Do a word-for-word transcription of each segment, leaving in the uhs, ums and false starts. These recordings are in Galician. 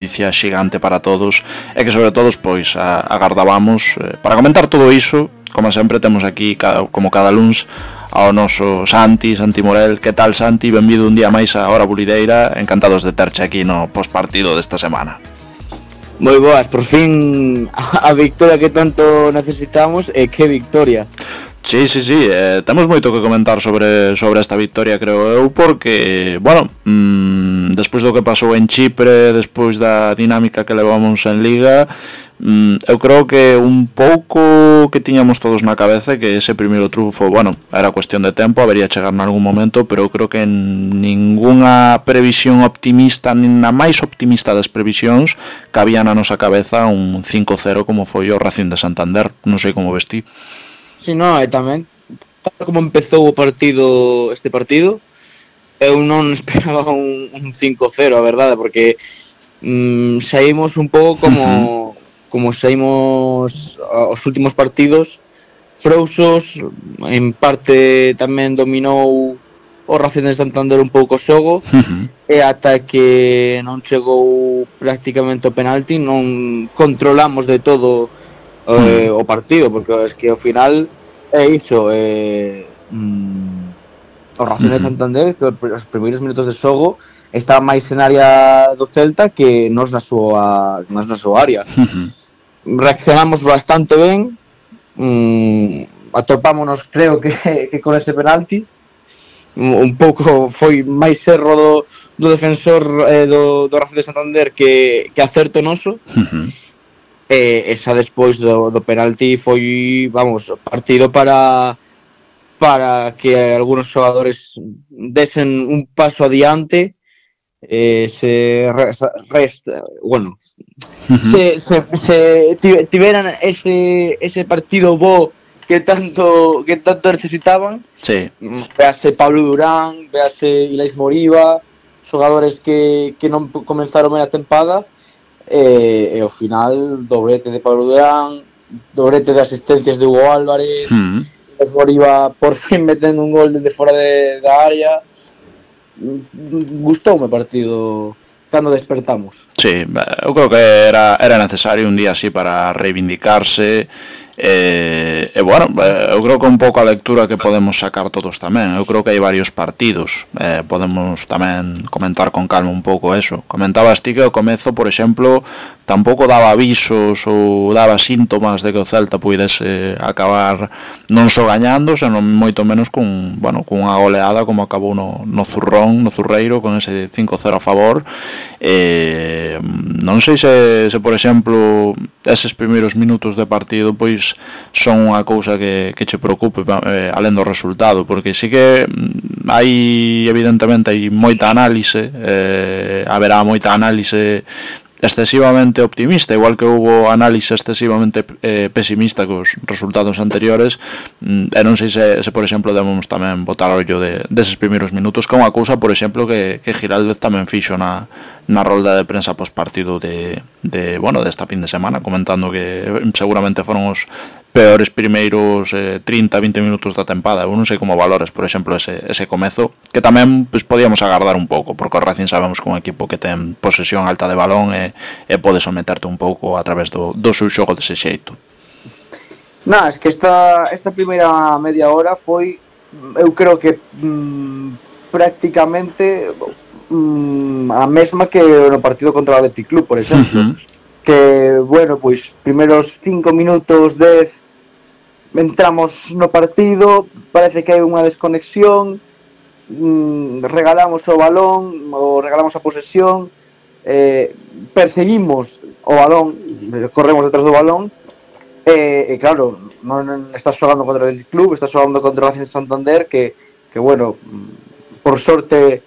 noticia xigante para todos e que sobre todo pois a, agardábamos eh, para comentar todo iso. Como sempre temos aquí como cada luns ao noso Santi, Santi Morel. Que tal, Santi? Benvido un día máis a Hora Bulideira, encantados de terche aquí no postpartido desta semana. Moi boas, por fin a victoria que tanto necesitamos. E que victoria. Sí, sí, sí, eh, temos moito que comentar sobre, sobre esta victoria, creo eu, porque, bueno, mmm, despois do que pasou en Chipre, despois da dinámica que levamos en Liga, mmm, eu creo que un pouco que tiñamos todos na cabeza que ese primeiro trunfo, bueno, era cuestión de tempo, habería chegar en algún momento, pero eu creo que en ningunha previsión optimista, nin na máis optimista das previsións, cabía na nosa cabeza un cinco cero como foi o Racing de Santander. Non sei como vestí. Si, non, e tamén tal como empezou o partido, este partido, eu non esperaba un, un cinco cero, a verdade, porque mm, saímos un pouco como uh-huh. como saímos os últimos partidos, frouxos, en parte tamén dominou o Racing de Santander un pouco o xogo, uh-huh. e ata que non chegou prácticamente o penalti, non controlamos de todo Eh, o partido, porque es que ao final é iso, eh, mm, o Racing de Santander, que os primeiros minutos de xogo está máis en área do Celta que nos na súa, nos na súa área. Uh-huh. Reaccionamos bastante ben, mm, atopámonos, creo que, que con ese penalti, un pouco foi máis erro do, do defensor eh, do, do Racing de Santander que, que acerto noso. Uh-huh. E xa despois do, do penalti foi, vamos, partido para para que algunos xogadores desen un paso adiante, eh, se rest, rest, bueno, uh-huh. se, se, se tiveran ese ese partido bo que tanto que tanto necesitaban. Sí. Véase Pablo Durán, véase Ilais Moriba, xogadores que que non comenzaron ben a tempada. E, e ao final doblete de Pablo Durán, doblete de asistencias de Hugo Álvarez, mm. Moriba por fin metendo un gol desde fora de, da área. Gustoume o partido cando despertamos. Sí, eu creo que era, era necesario un día así para reivindicarse. E, e bueno, eu creo que un pouco a lectura que podemos sacar todos tamén. Eu creo que hai varios partidos, eh, podemos tamén comentar con calma un pouco eso. Comentabas ti que ao comezo, por exemplo, tampouco daba avisos ou daba síntomas de que o Celta puidese acabar non só gañando, senón moito menos cun, bueno, cunha goleada como acabou no, no Zurrón, no Zurreiro, con ese cinco cero a favor. E, non sei se, se por exemplo, eses primeiros minutos de partido pois son unha cousa que, que che preocupe eh, alén do resultado, porque sí que hai, evidentemente, hai moita análise, eh, haberá moita análise excesivamente optimista, igual que houbo análise excesivamente eh, pesimista cos resultados anteriores, e non sei se, se por exemplo, debemos tamén botar ollo de, deses primeiros minutos, que é unha cousa, por exemplo, que, que Giraldez tamén fixo na, na rolda de prensa postpartido de, de, bueno, desta fin de semana, comentando que seguramente foron os peores primeiros eh, trinta a vinte minutos da tempada. Eu non sei como valores, por exemplo, ese, ese comezo, que tamén pues, podíamos agardar un pouco, porque o Racing sabemos que un equipo que ten posesión alta de balón e, e pode someterte un pouco a través do, do seu xogo dese xeito. Non, es que esta, esta primeira media hora foi, eu creo que mm, prácticamente mm, a mesma que no partido contra o Athletic Club, por exemplo. Uh-huh. Que, bueno, pois, primeiros cinco minutos, dez, entramos no partido, parece que hai unha desconexión, mmm, regalamos o balón, ou regalamos a posesión, eh, perseguimos o balón, corremos detrás do balón, e, e claro, non estás xogando contra el club, estás xogando contra o Racing de Santander, que, que bueno, por sorte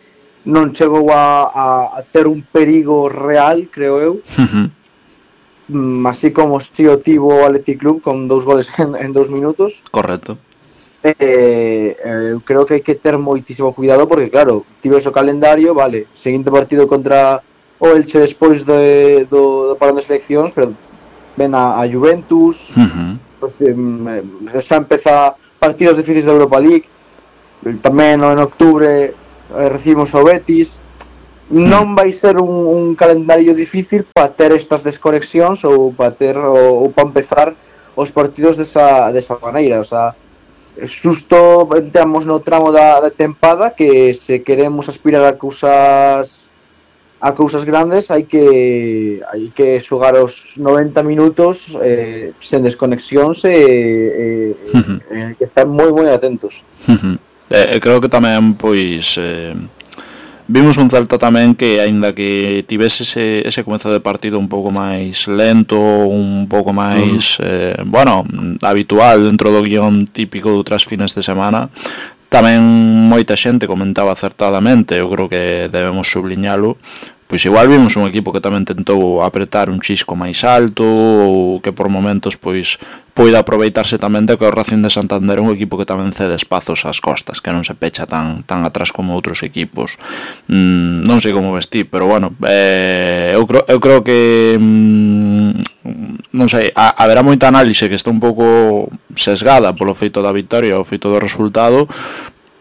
non chegou a, a, a ter un perigo real, creo eu. Uh-huh. Así como si o tivo o Athletic Club con dous goles en, en dous minutos. Correcto. Eh, eh, creo que hai que ter moitísimo cuidado porque claro, tives o calendario, vale, seguinte partido contra o Elche despois de, do, do parón de seleccións, pero ven a, a Juventus. Uh-huh. Porque, eh, xa empeza partidos difíciles da Europa League. Tamén en octubre eh, recibimos o Betis. non vai ser un, un calendario difícil para ter estas desconexións ou para ter ou, ou para empezar os partidos desa, desa maneira, o sea, xusto entramos no tramo da, da tempada que se queremos aspirar a cousas a cousas grandes hai que hai que xogar os noventa minutos eh, sen desconexións e, e, Uh-huh. e hai que estar moi moi atentos. Uh-huh. E, e creo que tamén, pois, eh, vimos un Celta tamén que, aínda que tivese ese, ese comezo de partido un pouco máis lento, un pouco máis, eh, bueno, habitual dentro do guión típico de outras fines de semana, tamén moita xente comentaba acertadamente, eu creo que debemos subliñalo, pois igual vimos un equipo que tamén tentou apretar un chisco máis alto ou que por momentos pois poida aproveitarse tamén de que o Racing de Santander é un equipo que tamén cede espazos ás costas, que non se pecha tan tan atrás como outros equipos. Mm, non sei como vestir, pero bueno, eh, eu, creo, eu creo que mm, non sei, a, haberá moita análise que está un pouco sesgada polo feito da victoria ou feito do resultado,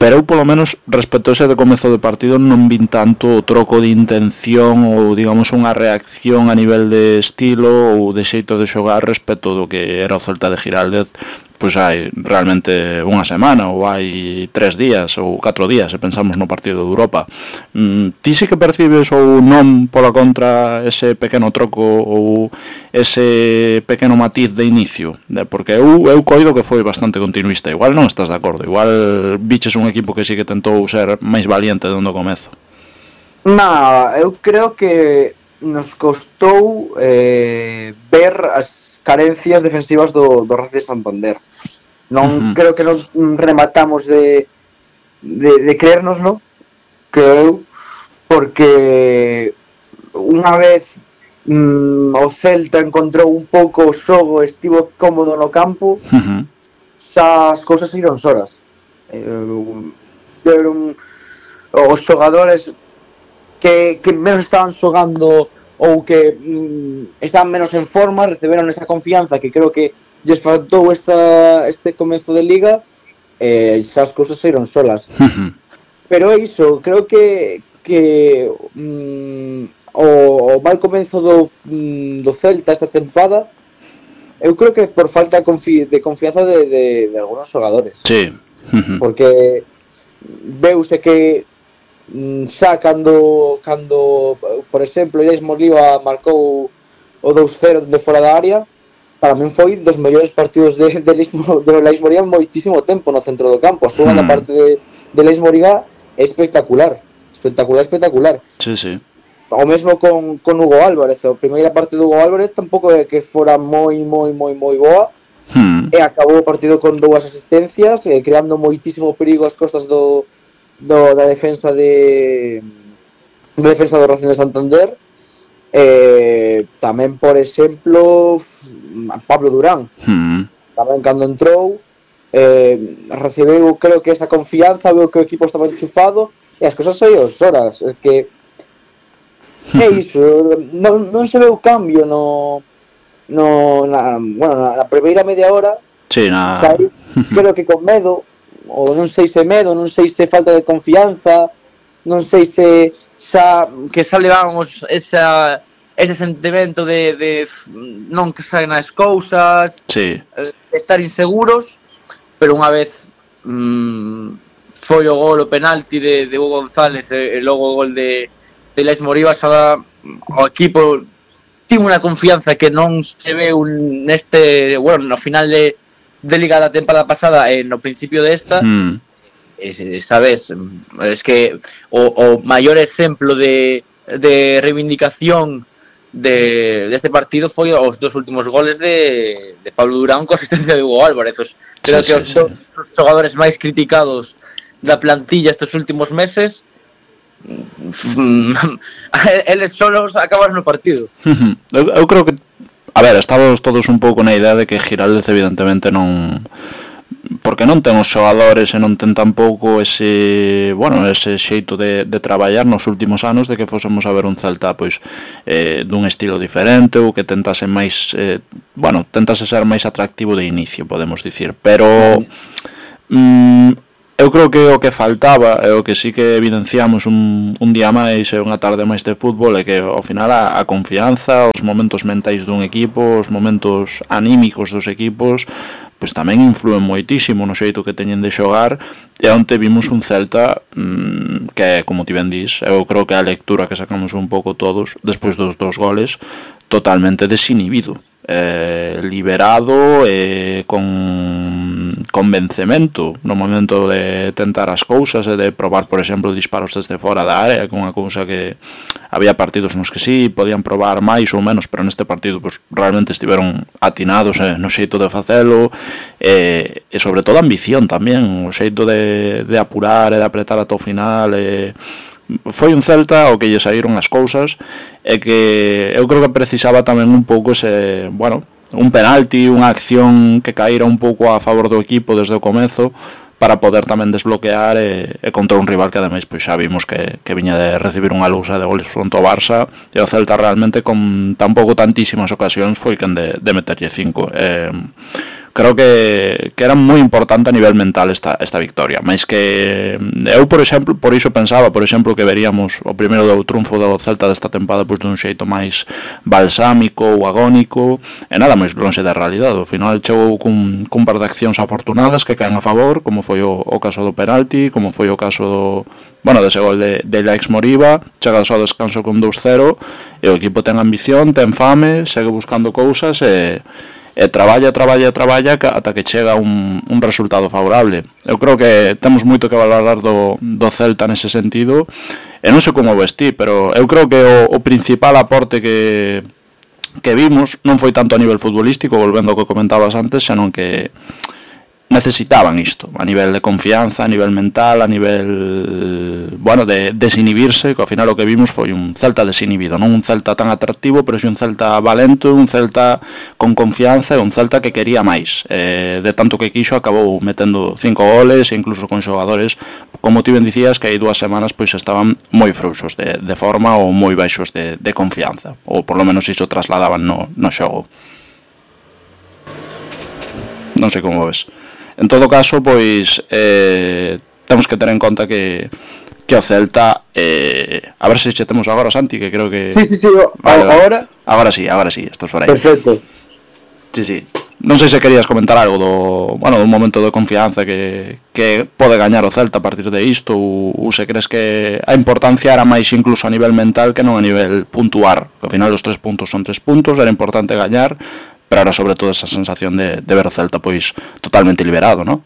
pero eu polo menos respecto a ese de comezo de partido non vin tanto o troco de intención ou digamos unha reacción a nivel de estilo ou de xeito de xogar respecto do que era o Celta de Giraldez pois hai realmente unha semana ou hai tres días ou catro días se pensamos no partido de Europa. mm, Ti sí que percibes ou non pola contra ese pequeno troco ou ese pequeno matiz de inicio? Porque eu, eu coido que foi bastante continuista, igual non estás de acordo, igual biches un equipo que sí que tentou ser máis valiente dende o comezo. No, eu creo que nos costou eh, ver as carencias defensivas do, do Racing de Santander. Non uh-huh. creo que non rematamos de de, de creernos, non? Creo eu, porque unha vez mm, o Celta encontrou un pouco o xogo, estivo cómodo no campo, uh-huh. xa as cousas iron soras. Eh, eran os xogadores que, que menos estaban xogando ou que mm, estaban menos en forma, receberon esa confianza que creo que lles faltou esta, este comezo de liga, e eh, xa as cousas iron solas. Uh-huh. Pero é iso, creo que que mm, o, o mal comezo do, mm, do Celta esta tempada, eu creo que por falta de, confi de confianza de, de, de algunos xogadores. Sí. Uh-huh. Porque veuse que xa cando, cando por exemplo, Ilais Moriba marcou o dous cero de fora da área, para min foi dos mellores partidos de, de, de Ilais Moriba en moitísimo tempo no centro do campo. A segunda mm. parte de, de Ilais Moriba é espectacular, espectacular, espectacular. Sí, sí. O mesmo con, con Hugo Álvarez, a primeira parte do Hugo Álvarez tampouco é que fora moi, moi, moi, moi boa, mm. e acabou o partido con dúas asistencias, e creando moitísimo perigo ás costas do Do, da defensa de da defensa do Racing de Santander. Eh, tamén, por exemplo, Pablo Durán, mm. tamén cando entrou eh, recebeu, creo que esa confianza, veo que o equipo estaba enchufado e as cosas saíron horas. É que é iso, non, non se veu cambio no, no na, bueno, na, na primeira media hora. Sí, na... Saí, creo que con medo, ou non sei se medo, non sei se falta de confianza, non sei se xa que xa levamos esa, ese sentimento de, de non que saen as cousas, sí. estar inseguros, pero unha vez mmm, foi o gol, o penalti de, de Hugo González e, e logo o gol de, de Ilais Moriba, xa o equipo tivo unha confianza que non se veu neste, bueno, no final de de liga da temporada pasada e no principio desta, mm. es, sabes, es que o, o maior exemplo de, de reivindicación de, de este partido foi os dos últimos goles de, de Pablo Durán con asistencia de Hugo Álvarez. Creo sí, que sí, os sí. dos xogadores máis criticados da plantilla estes últimos meses, eles solos acabaron no partido. eu, eu creo que a ver, estamos todos un pouco na idea de que Giraldez evidentemente non, porque non ten os xogadores e non ten tampouco ese, bueno, ese xeito de, de traballar nos últimos anos, de que fósemos a ver un Celta pois eh, dun estilo diferente ou que tentase máis eh, bueno, tentase ser máis atractivo de inicio, podemos dicir, pero mm, Eu creo que o que faltaba e o que sí que evidenciamos un, un día máis e unha tarde máis de fútbol é que ao final a, a confianza, os momentos mentais dun equipo, os momentos anímicos dos equipos, pois tamén influen moitísimo no xeito que teñen de xogar, e onte vimos un Celta mmm, que, como ti ben dis, eu creo que a lectura que sacamos un pouco todos despois dos dos goles, totalmente desinhibido, eh, liberado e con convencemento no momento de tentar as cousas e de probar, por exemplo, disparos desde fora da área, que unha cousa que había partidos nos que sí, podían probar máis ou menos, pero neste partido pues, realmente estiveron atinados eh, no xeito de facelo e, e sobre todo a ambición tamén, o xeito de, de apurar e de apretar ata o final e foi un Celta ao que lle saíron as cousas e que eu creo que precisaba tamén un pouco ese, bueno, un penalti, unha acción que caíra un pouco a favor do equipo desde o comezo para poder tamén desbloquear e, e contra un rival que ademais pois xa vimos que, que viña de recibir unha lousa de goles fronte ao Barça e o Celta realmente con tampouco tantísimas ocasións foi quen de, de meterlle cinco. Eh, creo que, que era moi importante a nivel mental esta, esta victoria, máis que eu, por exemplo, por iso pensaba, por exemplo, que veríamos o primeiro do triunfo do Celta desta tempada pois dun xeito máis balsámico ou agónico, e nada máis lonxe da realidade. Ao final chegou cun, cun par de accións afortunadas que caen a favor, como foi o, o caso do penalti, como foi o caso do, bueno, dese gol de, de Alex Moriba, chega ao descanso con dous cero, e o equipo ten ambición, ten fame, segue buscando cousas e e traballa, traballa, traballa ata que chega un, un resultado favorable. Eu creo que temos moito que valorar do, do Celta nese sentido, e non sei como vestí, pero eu creo que o, o principal aporte que, que vimos non foi tanto a nivel futbolístico, volvendo ao que comentabas antes, senón que necesitaban isto, a nivel de confianza, a nivel mental, a nivel, bueno, de desinhibirse, que ao final o que vimos foi un Celta desinhibido, non un Celta tan atractivo, pero si un Celta valento, un Celta con confianza e un Celta que quería máis. Eh, de tanto que quixo acabou metendo cinco goles e incluso con xogadores, como ti ben dicías, que hai dúas semanas pois estaban moi frouxos de, de forma ou moi baixos de, de confianza, ou por lo menos iso trasladaban no, no xogo. Non sei como ves. En todo caso, pois eh, temos que ter en conta que que o Celta eh, a ver se che temos agora, Santi, que creo que sí, sí, sí, vale, agora agora sí, agora sí, estás por aí. Perfecto. Sí, sí. Non sei se querías comentar algo do, bueno, dun momento de confianza que, que pode gañar o Celta a partir de isto, ou, ou se crees que a importancia era máis incluso a nivel mental que non a nivel puntuar, que ao final os tres puntos son tres puntos, era importante gañar, pero ahora sobre todo esa sensación de, de ver o Celta pois totalmente liberado, non?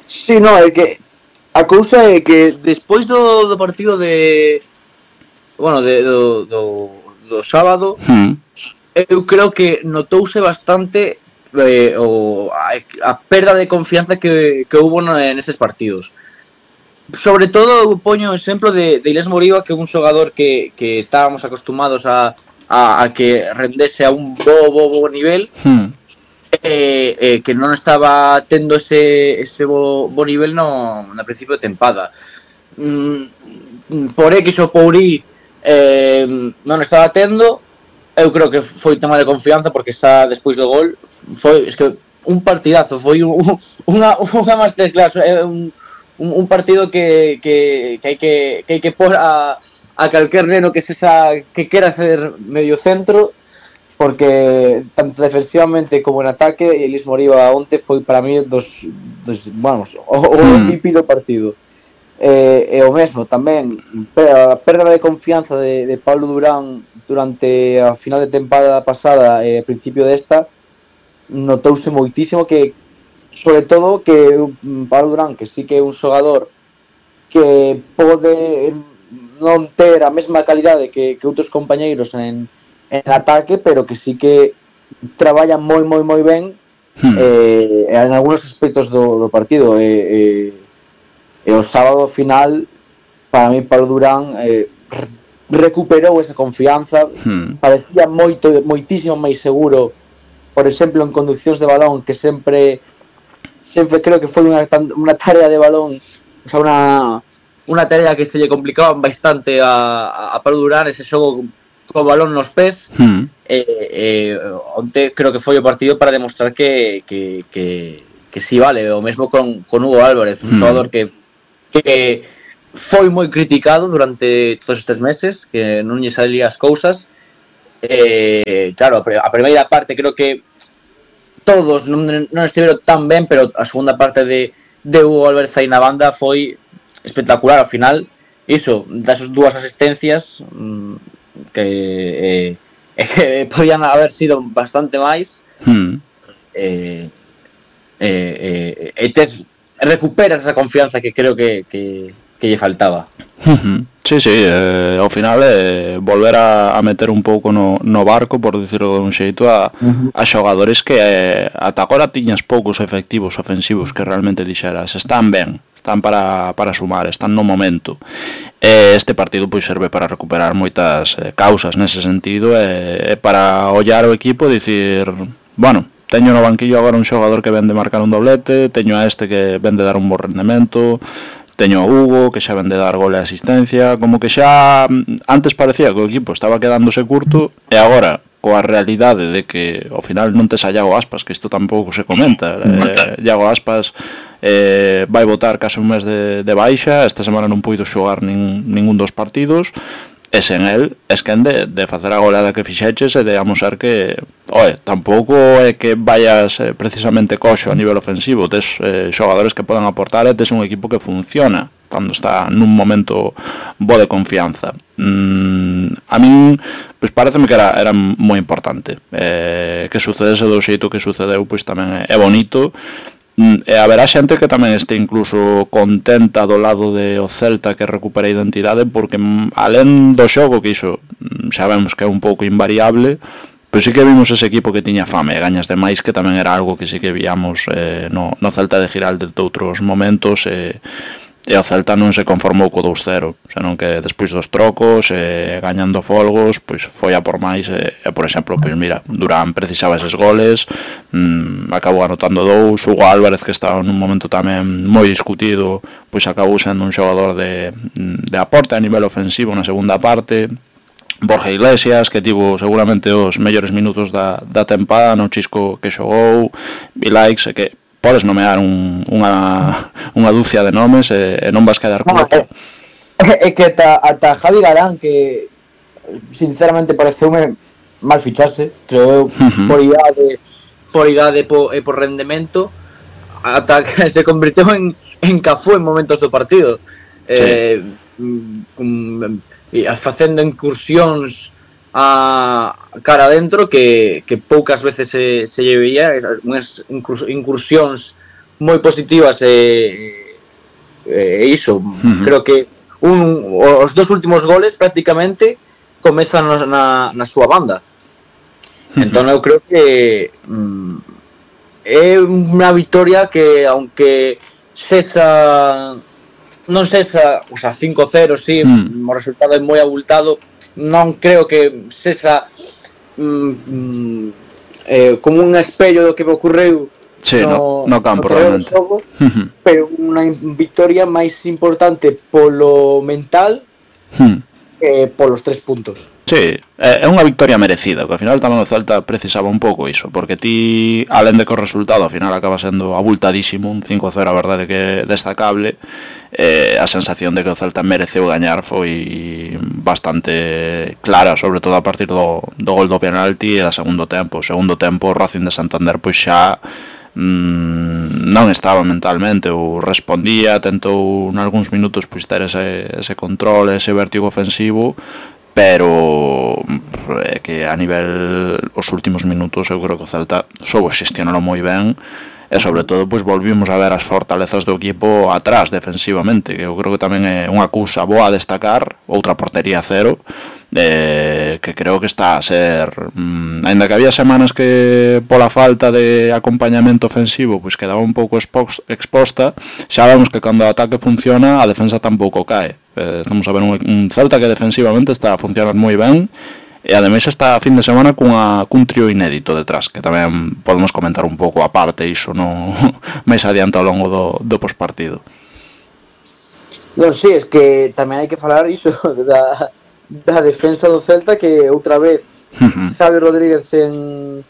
Sí, no, é que a cousa é que despois do, do partido de bueno, de, do, do, do sábado hmm. eu creo que notouse bastante eh, o, a, a perda de confianza que, que hubo nestes partidos. Sobre todo eu poño o exemplo de, de Alex Moriba, que é un xogador que, que estábamos acostumados a A, a que rendese a un bo, bo, bo nivel hmm. eh, eh, que non estaba tendo ese, ese bo, bo nivel no, no principio de tempada. Mm, por X ou por Y eh, non estaba tendo. Eu creo que foi tema de confianza, porque xa despois do gol foi, es que un partidazo, foi un, unha, unha masterclass, eh, un, un partido que, que, que hai que, que hai que pôr a a calquer neno que sexa que quera ser medio centro, porque tanto defensivamente como en ataque Alex Moriba onte foi para mí dos, dos vamos, o, o M V P do partido. E, e o mesmo tamén a perda de confianza de, de Pablo Durán durante a final de tempada pasada e principio desta, notouse moitísimo que, sobre todo, que Pablo Durán, que sí que é un xogador que pode non ter a mesma calidade que, que outros compañeiros en, en ataque, pero que sí que traballan moi, moi, moi ben hmm. eh, en algunos aspectos do, do partido. E, eh, e o sábado final, para mí, Pablo Durán eh, recuperou esa confianza, hmm. parecía moito, moitísimo máis seguro, por exemplo, en conduccións de balón, que sempre sempre creo que foi unha, unha tarea de balón, o sea, unha unha tarea que se lle complicaba bastante a, a Pablo Durán, ese xogo co balón nos pés. Hmm. E, e onte creo que foi o partido para demostrar que, que, que, que si vale, o mesmo con, con Hugo Álvarez, un mm. xogador que, que foi moi criticado durante todos estes meses, que non lle salía as cousas. Eh, claro, a primeira parte creo que todos non, non estiveron tan ben, pero a segunda parte de, de Hugo Álvarez aí na banda foi espectacular. Ao final, iso, das dúas asistencias que, eh, eh, podían haber sido bastante máis. Mm. Eh, eh, eh, e tes, recuperas esa confianza que creo que, que, que lle faltaba. Uh-huh. Sí, sí, eh, ao final é eh, volver a, a meter un pouco no, no barco, por dicirlo de un xeito, a, uh-huh. a xogadores que eh, ata agora tiñas poucos efectivos ofensivos que realmente dixeras, están ben, están para, para sumar, están no momento. E este partido pois serve para recuperar moitas eh, causas nese sentido e eh, para ollar o equipo e dicir, bueno, teño no banquillo agora un xogador que vende marcar un doblete, teño a este que vende dar un bo rendemento, teño a Hugo que xa vende dar gol e asistencia, como que xa antes parecía que o equipo estaba quedándose curto e agora coa realidade de que ao final non tes a Iago Aspas, que isto tampouco se comenta, eh, Iago Aspas eh, vai botar case un mes de, de baixa, esta semana non puido xogar nin, ningún dos partidos. E sen el, es que de, de facer a goleada que fixeches e de amosar que, oe, tampouco é que vayas eh, precisamente coxo a nivel ofensivo, tes eh, xogadores que poden aportar e tes un equipo que funciona cando está nun momento bo de confianza. Mm, a min, pois pareceme que era, era moi importante. Eh, que sucedese do xeito que sucedeu, pois tamén é, é bonito. E haberá xente que tamén este incluso contenta do lado de o Celta que recupera a identidade, porque alén do xogo, que iso xa vemos que é un pouco invariable, pois sí que vimos ese equipo que tiña fame e gañas de máis, que tamén era algo que sí que víamos eh, no, no Celta de Giralde de outros momentos, e, e o Celta non se conformou co dous cero, senón que despois dos trocos e gañando folgos, pois foi a por máis e, e por exemplo, pois mira, Durán precisaba eses goles, mmm, acabou anotando dous, Hugo Álvarez que estaba nun momento tamén moi discutido, pois acabou sendo un xogador de, de aporte a nivel ofensivo na segunda parte. Borja Iglesias, que tivo seguramente os mellores minutos da, da tempada no chisco que xogou, Vilaix, que podes nomear un, unha, unha dúcia de nomes e, e non vas quedar curto. No, é, é que ata, ata Javi Galán, que sinceramente pareceume mal fichase, creo eu, uh-huh. por idade por idade e por, por rendemento, ata que se convirteu en, en Cafú en momentos do partido. Sí. Eh, um, facendo incursións a cara adentro que, que poucas veces se, se lle veía, unhas incursións moi positivas e, e iso, uh-huh. creo que un, os dos últimos goles prácticamente comezan na, na súa banda. Uh-huh. Entón eu creo que mm, é unha victoria que, aunque sexa non sexa, o sea, cinco cero, sí, uh-huh. o resultado é moi abultado, non creo que sexa mm, eh, como un espello do que me ocorreu sí, no, no, no campo, no realmente xogo, uh-huh. pero unha victoria máis importante polo mental uh-huh. que polos tres puntos. Sí, é unha victoria merecida, que ao final tamén o Celta precisaba un pouco iso, porque ti, alén de que o resultado ao final acaba sendo abultadísimo, un cinco cero a verdade que é destacable, eh, a sensación de que o Celta mereceu gañar foi bastante clara, sobre todo a partir do, do gol do penalti e da segundo tempo. O segundo tempo o Racing de Santander pois xa mm, non estaba mentalmente, ou respondía, tentou nalgúns minutos pois ter ese, ese control, ese vértigo ofensivo, pero é que a nivel os últimos minutos eu creo que o Celta soubo xestionalo moi ben e sobre todo pois volvimos a ver as fortalezas do equipo atrás defensivamente, que eu creo que tamén é unha cousa boa a destacar, outra portería cero, eh, que creo que está a ser mmm, ainda que había semanas que pola falta de acompañamento ofensivo pois quedaba un pouco exposta, xa vemos que cando o ataque funciona a defensa tampouco cae. Eh, estamos a ver un, un Celta que defensivamente está a funcionar moi ben e ademais está a fin de semana cunha, cun trío inédito detrás, que tamén podemos comentar un pouco a parte iso no, máis adiante ao longo do, do pospartido. Non, si, sí, es que tamén hai que falar iso da, da defensa do Celta, que outra vez uh-huh. Xavi Rodríguez sen,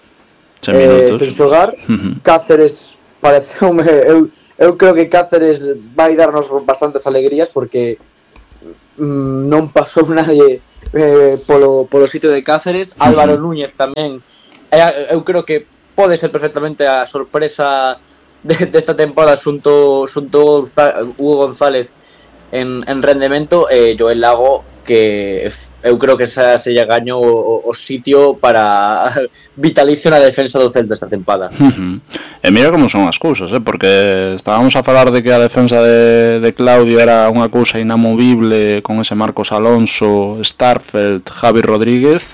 sen minutos, eh, sen xogar, uh-huh. Cáceres pareceume, eu, eu creo que Cáceres vai darnos bastantes alegrías porque mm, non pasou nadie eh, polo, polo sitio de Cáceres. Uh-huh. Álvaro Núñez tamén, eh, eu creo que pode ser perfectamente a sorpresa de, desta temporada xunto, xunto Hugo González en, en rendemento, e eh, Joel Lago, que eu creo que xa se lle gañou o, o sitio para vitalicio na defensa do Celta esta tempada. Uh-huh. E mira como son as cousas, eh? Porque estábamos a falar de que a defensa de, de Claudio era unha cousa inamovible con ese Marcos Alonso, Starfelt, Javi Rodríguez,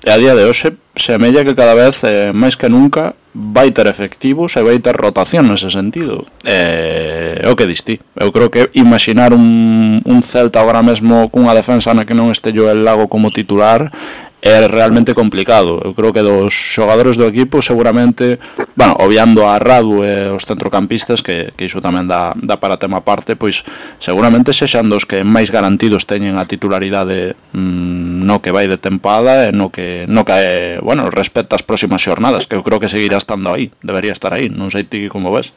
e a día de hoxe semella que cada vez eh, máis que nunca vai ter efectivos e vai ter rotación nese sentido. É o que distí. Eu creo que imaginar un, un Celta agora mesmo cunha defensa na que non este Joel Lago como titular é realmente complicado. Eu creo que dos xogadores do equipo seguramente, bueno, obviando a Radu e os centrocampistas, que, que iso tamén dá, dá para tema aparte, pois seguramente sexan dos que máis garantidos teñen a titularidade mmm, no que vai de tempada e no que, no que bueno, respecta as próximas xornadas, que eu creo que seguirá estando aí, debería estar aí, non sei ti como ves.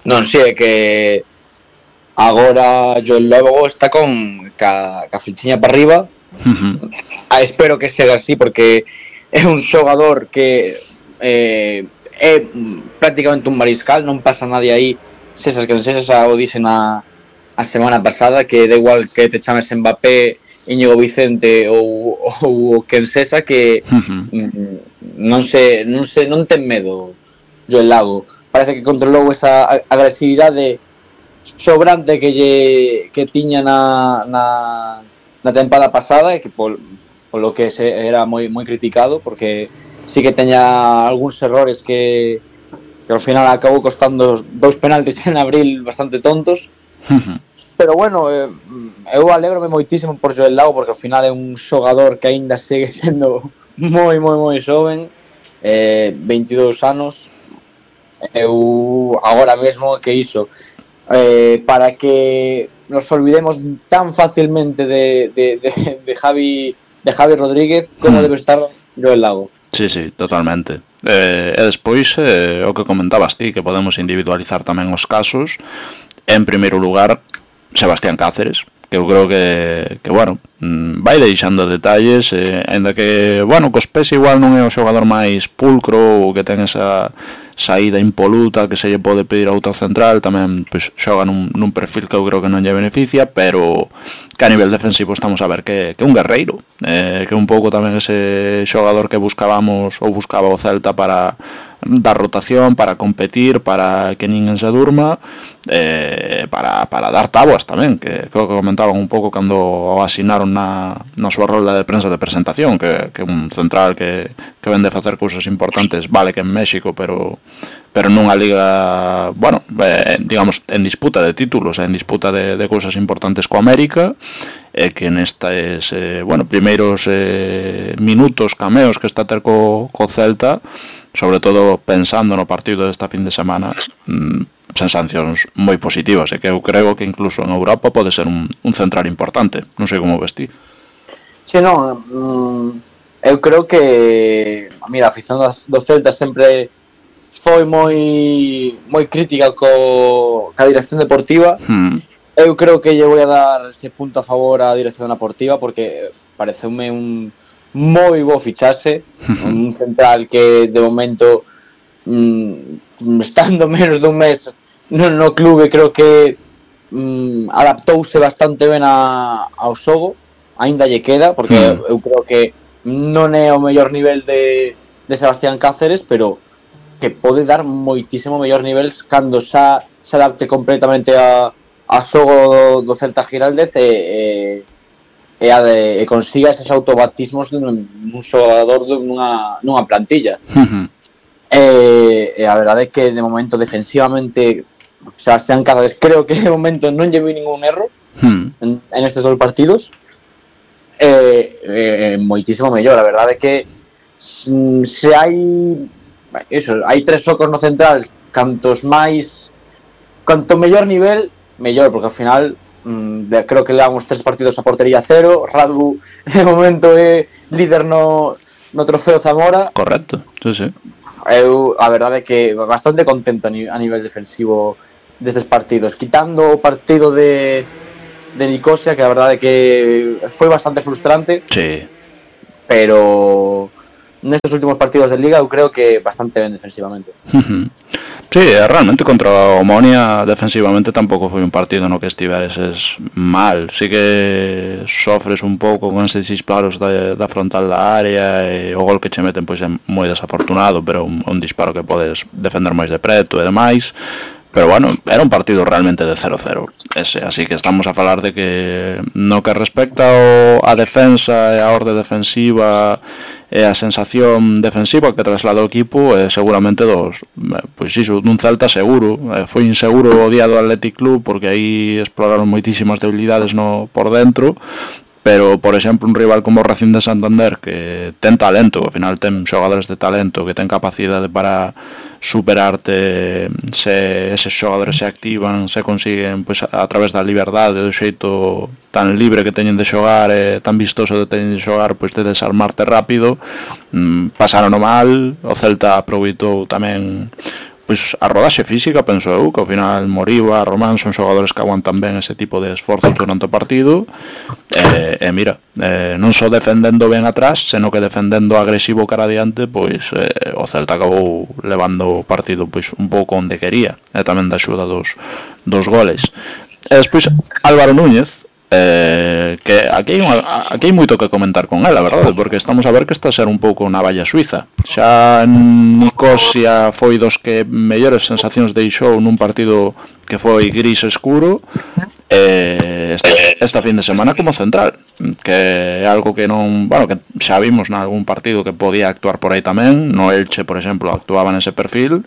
Non sei, que agora Joel Lago está con ca, ca flechiña para arriba. Uh-huh. Ah, espero que sea así porque é un xogador que eh, é prácticamente un mariscal, non pasa nadie aí, sesas que non sesas, o dixen a, a semana pasada, que da igual que te chames Mbappé, Íñigo Vicente ou, ou quen sesa, que uh-huh. non se, non se non ten medo Joel Lago, parece que controlou esa agresividade sobrante que lle que tiña na, na na tempada pasada, e que por, por lo que se era moi moi criticado, porque sí que teña algúns errores que, que ao final acabou costando dous penaltis en abril bastante tontos. Uh-huh. Pero bueno, eh, eu alégrome moitísimo por Joel Lago, porque ao final é un xogador que aínda segue sendo moi moi moi xoven, eh, veintidós anos. Eu agora mesmo que iso, eh, para que nos olvidemos tan fácilmente de, de, de, de Javi de Javi Rodríguez como hmm. debe estar Joel Lago. Sí, sí, totalmente. Eh, e despois eh, o que comentabas ti, que podemos individualizar tamén os casos. En primeiro lugar, Sebastián Cáceres, que eu creo que, que bueno, vai deixando detalles, eh, ainda que, bueno, cos pés igual non é o xogador máis pulcro ou que ten esa saída impoluta que se lle pode pedir a outro central, tamén pois, xoga nun, nun perfil que eu creo que non lle beneficia, pero que a nivel defensivo estamos a ver que, que un guerreiro, eh, que un pouco tamén ese xogador que buscábamos ou buscaba o Celta para dar rotación, para competir, para que ninguén se durma, eh, para, para dar tabuas tamén, que creo que comentaban un pouco cando o asinaron na, na súa rolda de prensa de presentación, que, que un central que, que vende a facer cousas importantes, vale que en México, pero pero nunha liga, bueno, eh, digamos, en disputa de títulos, en disputa de, de cousas importantes co América, e que nestes, eh, bueno, primeiros eh, minutos, cameos que está a ter co, co Celta, sobre todo pensando no partido desta fin de semana, mmm, sensacións moi positivas, e que eu creo que incluso en Europa pode ser un, un central importante, non sei como ves ti. Sí, non, mm, eu creo que, mira, a afición do Celta sempre foi moi moi crítica co ca dirección deportiva. Hmm. Eu creo que lle vou a dar ese punto a favor á dirección deportiva, porque pareceume un moi bo fichaxe, un central que de momento mmm, estando menos dun mes no, no clube, creo que mmm, adaptouse bastante ben a, ao xogo, aínda lle queda, porque hmm. eu creo que non é o mellor nivel de, de Sebastián Cáceres, pero que pode dar moitísimo mellor nivel cando xa se adapte completamente a, a xogo do, do Celta Giraldez e, e, e, a de, e consiga esos autobatismos dun, dun xogador nunha, nunha plantilla. Uh-huh. e, e a verdade é que de momento defensivamente Sebastián Cáceres creo que de momento non lle vi ningún erro uh-huh. en, en estes dos partidos, e, e, moitísimo mellor. A verdade é que se hai eso, hai tres focos no central, cantos máis, canto mellor nivel, mellor, porque ao final mmm, creo que levamos tres partidos a portería cero. Radu de momento é líder no, no trofeo Zamora. Correcto, sí, sí. Eu, a verdade é que bastante contento a, ni, a nivel defensivo destes partidos, quitando o partido de, de Nicosia, que a verdade é que foi bastante frustrante. Sí. Pero nestes últimos partidos de Liga eu creo que bastante ben defensivamente. Sí, realmente contra Omonia defensivamente tampouco foi un partido no que estiveres mal. Sí que sofres un pouco con estes disparos da, da frontal da área, e o gol que che meten pois é moi desafortunado, pero un, un disparo que podes defender máis de preto e demais. Pero bueno, era un partido realmente de cero cero ese, así que estamos a falar de que no que respecta ao, a defensa e a orde defensiva e a sensación defensiva que trasladou o equipo, é seguramente dos, pois iso, dun Celta seguro. Foi inseguro o día do Athletic Club porque aí exploraron moitísimas debilidades no por dentro, pero, por exemplo, un rival como o Racing de Santander, que ten talento, ao final ten xogadores de talento, que ten capacidade para superarte, se eses xogadores se activan, se consiguen, pois, a través da liberdade, do xeito tan libre que teñen de xogar, e tan vistoso de teñen de xogar, pois de desarmarte rápido. Pasaron o mal, o Celta aproveitou tamén pois a rodaxe física, penso eu, que ao final Moriba, Román son xogadores que aguantan ben ese tipo de esforzos durante o partido, e, e mira, eh, non só defendendo ben atrás, senón que defendendo agresivo cara adiante, pois eh, o Celta acabou levando o partido pois un pouco onde quería, e tamén da axuda dos, dos goles. E despois Álvaro Núñez, Eh, que aquí hai, unha, aquí hai moito que comentar con ela, verdade? Porque estamos a ver que está a ser un pouco unha valla suiza. Xa Nicosia foi dos que mellores sensacións deixou nun partido que foi gris escuro, eh, esta, esta fin de semana como central, que é algo que non, bueno, que xa vimos nalgún partido que podía actuar por aí tamén. No Elche, por exemplo, actuaba nese perfil,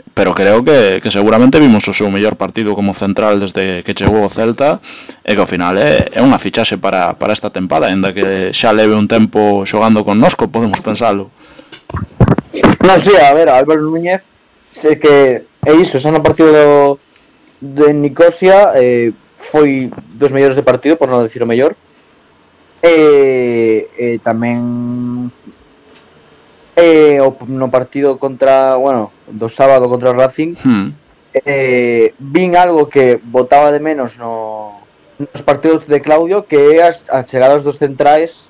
pero creo que, que seguramente vimos o seu mellor partido como central desde que chegou o Celta, e que ao final é, é unha fichaxe para, para esta tempada, ainda que xa leve un tempo xogando connosco, podemos pensalo. Non, sí, a ver, Álvaro Núñez, sei que é iso, xa no partido do, de Nicosia, eh, foi dos mellores de partido, por non decir o mellor, e, e tamén eh, no partido contra, bueno, do sábado contra o Racing, hmm. eh, vin algo que botaba de menos no, nos partidos de Claudio, que é as, as chegadas dos centrais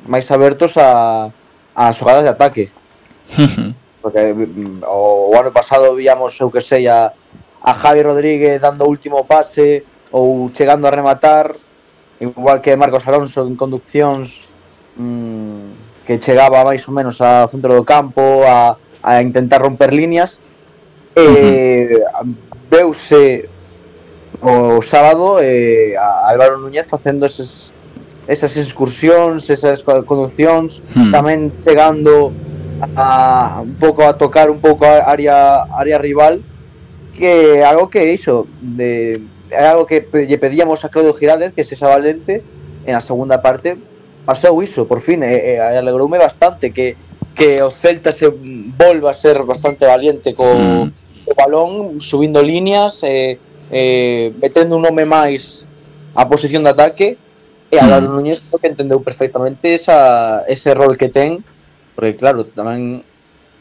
máis abertos a, a xogadas de ataque. Porque o, o ano pasado víamos, eu que sei, a, a Javi Rodríguez dando o último pase ou chegando a rematar, igual que Marcos Alonso en conduccións, mmm, que chegaba máis ou menos ao centro do campo a, a intentar romper líneas. E uh-huh. veuse o sábado eh, a Álvaro Núñez facendo eses, esas excursións, esas conduccións, uh-huh. tamén chegando a un pouco a tocar un pouco a área, área rival, que algo que iso de, é algo que lle pedíamos a Claudio Giraldez, que se xa valente en a segunda parte. Pasou iso, por fin, e, e alegroume bastante que, que o Celta se volva a ser bastante valiente co, mm. co balón, subindo líneas, e, e metendo un nome máis a posición de ataque, e Álvaro mm. Núñez que entendeu perfectamente esa, ese rol que ten, porque claro, tamén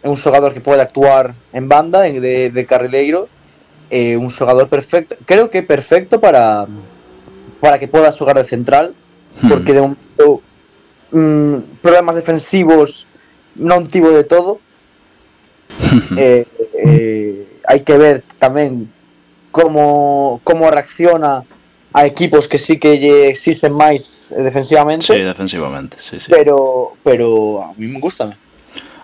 é un xogador que pode actuar en banda, en, de, de carrileiro, é un xogador perfecto, creo que perfecto para, para que poda xogar de central, mm. porque de momento Mm, problemas defensivos non tivo de todo. eh, eh, hai que ver tamén como, como reacciona a equipos que sí que lle exixen máis defensivamente. Sí, defensivamente, sí, sí. Pero, pero a mí me gusta.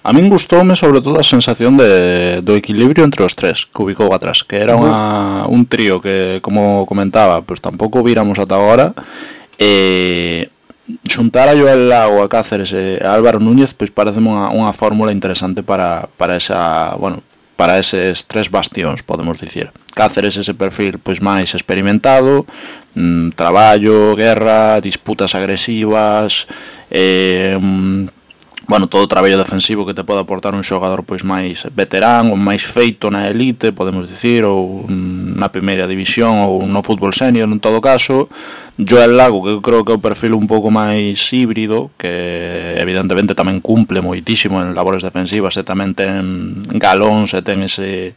A min gustoume sobre todo a sensación de, do equilibrio entre os tres que ubicou atrás, que era unha, un trío que, como comentaba, pues tampouco víramos ata agora, e xuntar a Joel Lago, a Cáceres e a Álvaro Núñez, pois pareceme unha, unha fórmula interesante para, para esa, bueno, para eses tres bastións, podemos dicir. Cáceres ese perfil pois máis experimentado, mmm, traballo, guerra, disputas agresivas, eh, bueno, todo o traballo defensivo que te pode aportar un xogador pois máis veterán ou máis feito na elite, podemos dicir, ou na primeira división ou no fútbol senior en todo caso. Joel Lago, que eu creo que é o perfil un pouco máis híbrido, que evidentemente tamén cumple moitísimo en labores defensivas e tamén ten galóns e ten ese,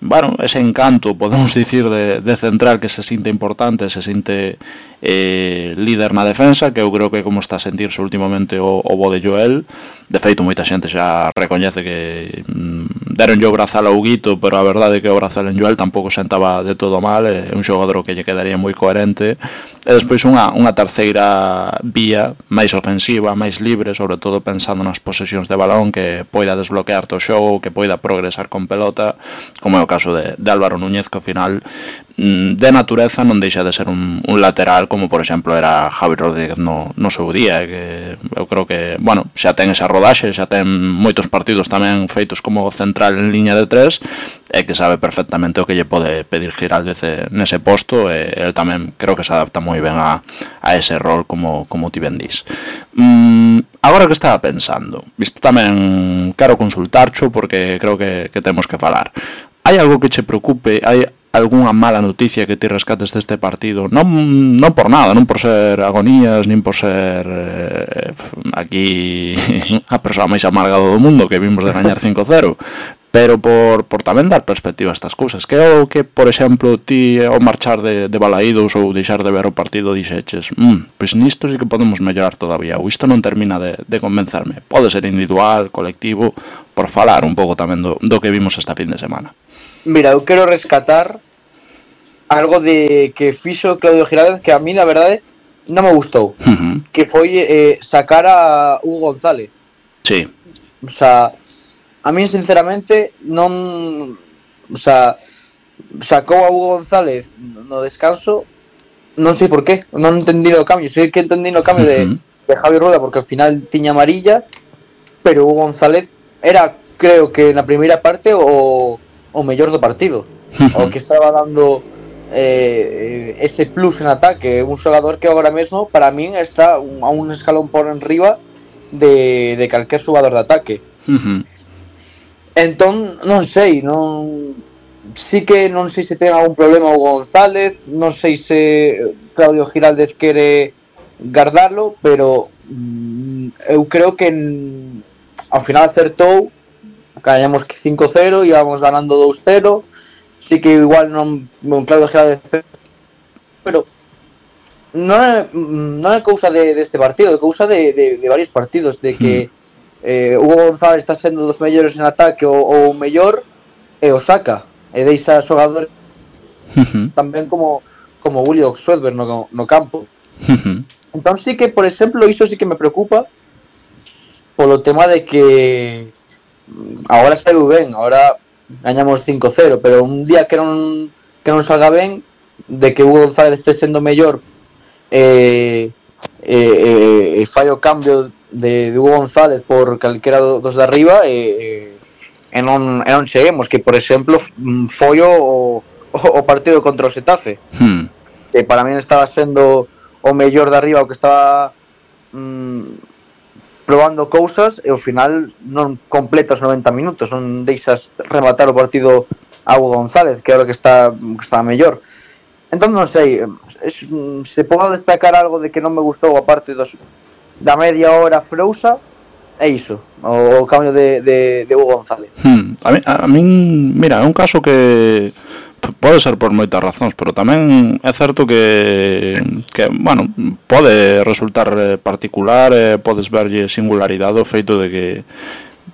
bueno, ese encanto, podemos dicir, de, de central que se sinte importante, se sinte eh, líder na defensa, que eu creo que como está a sentirse últimamente o, o bo de Joel. De feito, moita xente xa recoñece que mm, deronlle o brazal ao Guito, pero a verdade é que o brazal en Joel tampouco sentaba de todo mal, é un xogador que lle quedaría moi coherente. E despois unha, unha terceira vía máis ofensiva, máis libre, sobre todo pensando nas posesións de balón, que poida desbloquear o xogo, que poida progresar con pelota, como é o caso de, de Álvaro Núñez, que ao final de natureza non deixa de ser un, un lateral, como por exemplo era Javi Rodríguez no, no seu día, que eu creo que, bueno, xa ten esa rodaxe, xa ten moitos partidos tamén feitos como central en liña de tres, e que sabe perfectamente o que lle pode pedir Giraldez nese posto, e el tamén creo que se adapta moi ben a, a ese rol, como, como ti ben dis. Mm, agora que estaba pensando, isto tamén quero consultarcho porque creo que, que temos que falar. Hai algo que che preocupe? Hai algunha mala noticia que ti rescates deste partido? Non, non por nada, non por ser agonías, nin por ser eh, aquí a persoa máis amargada do mundo, que vimos de gañar cinco cero, pero por, por tamén dar perspectiva a estas cousas. Que é o que, por exemplo, ti ao marchar de, de Balaídos ou deixar de ver o partido dixeches, mm, pois nisto sí que podemos mellorar todavía, ou isto non termina de, de convencerme. Pode ser individual, colectivo, por falar un pouco tamén do, do que vimos esta fin de semana. Mira, eu quero rescatar algo de que fixo Claudio Giraldez que a mí, la verdade, non me gustou. Uh-huh. Que foi eh, sacar a Hugo González. Sí. O sea, a mí, sinceramente, non... O sea, sacou a Hugo González no descanso, non sei por qué, non entendí o cambio. Sei que entendí o cambio uh-huh. de, de Javi Rueda, porque ao final tiña amarilla, pero Hugo González era, creo que na primeira parte, o... o mellor do partido, o que estaba dando eh, ese plus en ataque, un xogador que agora mesmo para min está un, a un escalón por enriba de, de calquer xogador de ataque. Uh-huh. Entón, non sei, non sí que non sei se ten algún problema o González, non sei se Claudio Giraldez quere guardarlo, pero mm, eu creo que en, ao final acertou. Gañamos cinco cero, íbamos ganando dos cero. Sí que igual non, non Claudio Giraldez, pero non é, non é cousa de, deste partido, é cousa de, de, de varios partidos, de que eh, Hugo González está sendo dos mellores en ataque ou o mellor, e o saca, e deixa xogadores tamén como como Julio Swedberg no, no campo. Entón sí que, por exemplo, iso sí que me preocupa polo tema de que agora saiu ben, agora gañamos cinco cero, pero un día que non que non salga ben, de que Hugo González este sendo mellor e eh, eh, eh, fai o cambio de, de Hugo González por calquera dos de arriba e, e, non, e non cheguemos, que por exemplo foi o, o partido contra o Xetafe, hmm. que para mí estaba sendo o mellor de arriba, o que estaba mm, probando cousas, e ao final non completas noventa minutos, non deixas rematar o partido a Hugo González, que é o que está, que está mellor. Entón non sei, es, se podo destacar algo de que non me gustou a parte dos, da media hora frousa, é iso, o, o cambio de, de, de Hugo González. Hmm. A, mí, a min, mira, é un caso que pode ser por moitas razóns, pero tamén é certo que, que bueno, pode resultar particular, eh, podes verlle singularidade o feito de que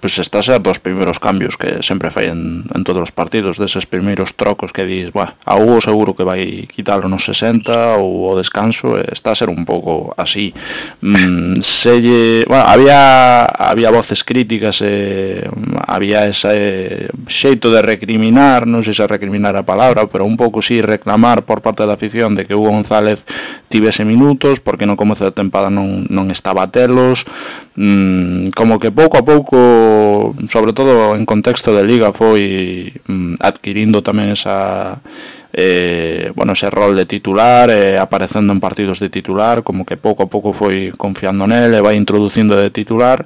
pues está a ser dos primeiros cambios que sempre fai en, en todos os partidos, deses primeiros trocos que dis, buah, a Hugo seguro que vai quitarlo nos sesenta ou o descanso, está a ser un pouco así. Mm, selle, bueno, había había voces críticas, eh, había ese xeito de recriminar, non sei se recriminar a palabra, pero un pouco sí reclamar por parte da afición de que Hugo González tivese minutos, porque no comezo da tempada non, non estaba a telos, mm, como que pouco a pouco, sobre todo en contexto de Liga, foi mm, adquirindo tamén esa eh, bueno, ese rol de titular, eh, aparecendo en partidos de titular, como que pouco a pouco foi confiando nele, vai introducindo de titular,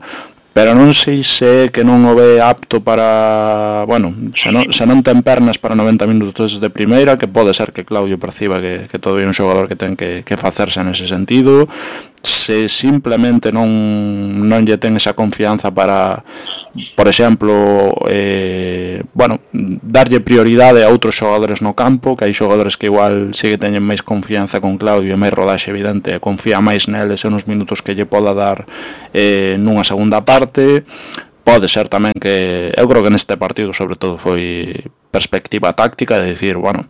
pero non sei se que non o ve apto para, bueno, se non, se non ten pernas para noventa minutos de primeira, que pode ser que Claudio perciba que, que todavía é un xogador que ten que, que facerse nese sentido, se simplemente non, non lle ten esa confianza para, por exemplo, eh, bueno, darlle prioridade a outros xogadores no campo, que hai xogadores que igual sí que teñen máis confianza con Claudio e máis rodaxe evidente, e confía máis neles e nos minutos que lle poda dar eh, nunha segunda parte. Pode ser tamén que eu creo que neste partido sobre todo foi perspectiva táctica de dicir, bueno,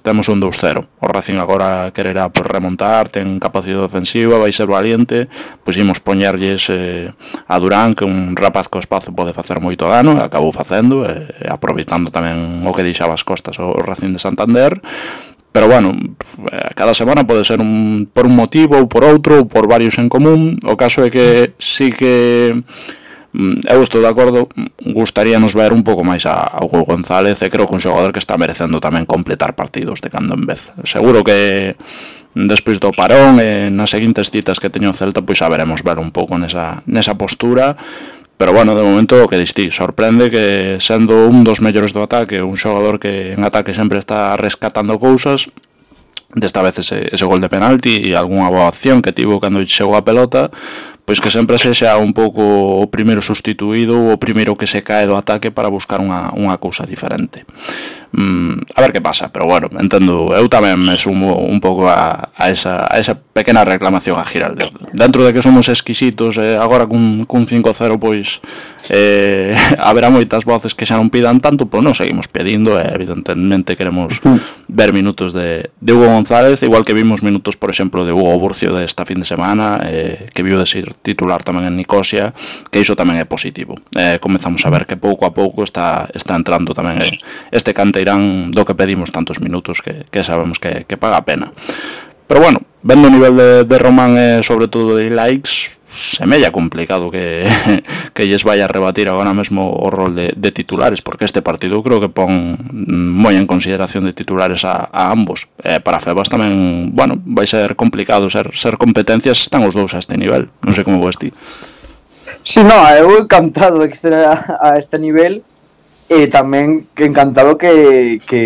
temos un dos cero, o Racing agora quererá pues, remontar, ten capacidade ofensiva, vai ser valiente, pois imos poñerlles eh, a Durán, que un rapaz co espazo pode facer moito dano, e acabou facendo, e, e aproveitando tamén o que deixaba as costas o Racing de Santander. Pero bueno, cada semana pode ser un, por un motivo ou por outro, ou por varios en común. O caso é que sí que eu estou de acordo, gustaríanos ver un pouco máis a, a Hugo González, e creo que un xogador que está merecendo tamén completar partidos de cando en vez. Seguro que despois do parón e nas seguintes citas que teño Celta, pois saberemos ver un pouco nesa, nesa postura. Pero bueno, de momento o que distí, sorprende que sendo un dos mellores do ataque, un xogador que en ataque sempre está rescatando cousas, desta vez ese, ese gol de penalti e algunha boa acción que tivo cando chegou a pelota, pois que sempre sexa un pouco o primeiro sustituído ou o primeiro que se cae do ataque para buscar unha, unha cousa diferente. Mm, a ver que pasa, pero bueno, entendo, eu tamén me sumo un pouco a, a, esa, a esa pequena reclamación a Giraldez. Dentro de que somos exquisitos, eh, agora cun, cun cinco cero pois eh, haberá moitas voces que xa non pidan tanto, pois non seguimos pedindo, e evidentemente queremos ver minutos de, de Hugo González, igual que vimos minutos, por exemplo, de Hugo Burcio desta fin de semana, eh, que viu de ser titular tamén en Nicosia, que iso tamén é positivo. Eh, comezamos a ver que pouco a pouco está, está entrando tamén este canteirán do que pedimos tantos minutos que, que sabemos que, que paga a pena. Pero bueno, vendo o nivel de, de Román e sobre todo de likes, semella complicado que, que lles vai a rebatir agora mesmo o rol de, de titulares, porque este partido creo que pon moi en consideración de titulares a, a ambos. Eh, para Febas tamén, bueno, vai ser complicado ser, ser competencias, están os dous a este nivel, non sei como ves ti. Sí, no, eu encantado de que este a, a este nivel, e tamén encantado que que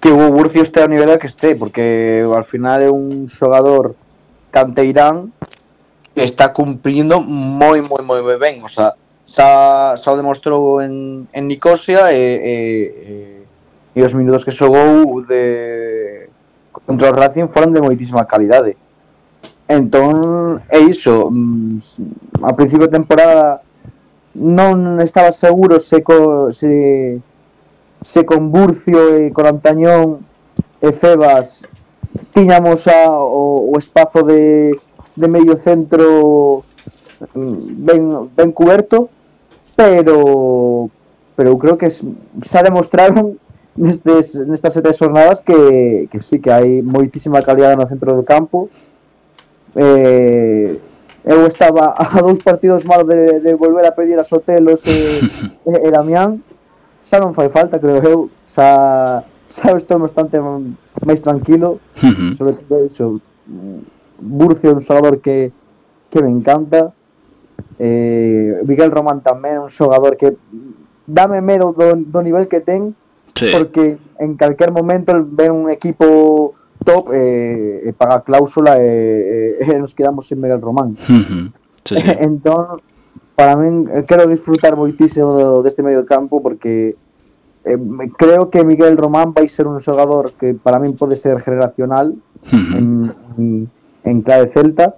que Hugo Burcio este ao nivel que este, porque ao final é un xogador canteirán que está cumplindo moi, moi, moi ben, o sea, xa, xa o demostrou en, en Nicosia e, e, e, e os minutos que xogou de contra o Racing foron de moitísima calidade. Entón, é iso, a principio de temporada non estaba seguro se co, se se con Burcio e con Antañón e Febas tiñamos a, o, o espazo de, de medio centro ben, ben cuberto, pero pero eu creo que xa demostraron nestes, nestas sete jornadas que, que sí, que hai moitísima calidade no centro do campo. eh, eu estaba a dous partidos malos de, de volver a pedir a Sotelos e, e, e Damián. Xa non fai falta, creo eu, xa, xa estou bastante máis tranquilo, uh-huh. Sobre todo iso, Burcio é un xogador que, que me encanta, eh, Miguel Román tamén é un xogador que dame medo do, do nivel que ten, sí. Porque en calquer momento ven un equipo top e eh, paga cláusula e, eh, nos quedamos sin Miguel Román. Uh-huh. Sí, sí. Entón, para min, quero disfrutar moitísimo deste medio de campo porque eh, creo que Miguel Román vai ser un xogador que para min pode ser generacional uh-huh. en, en, en clave Celta.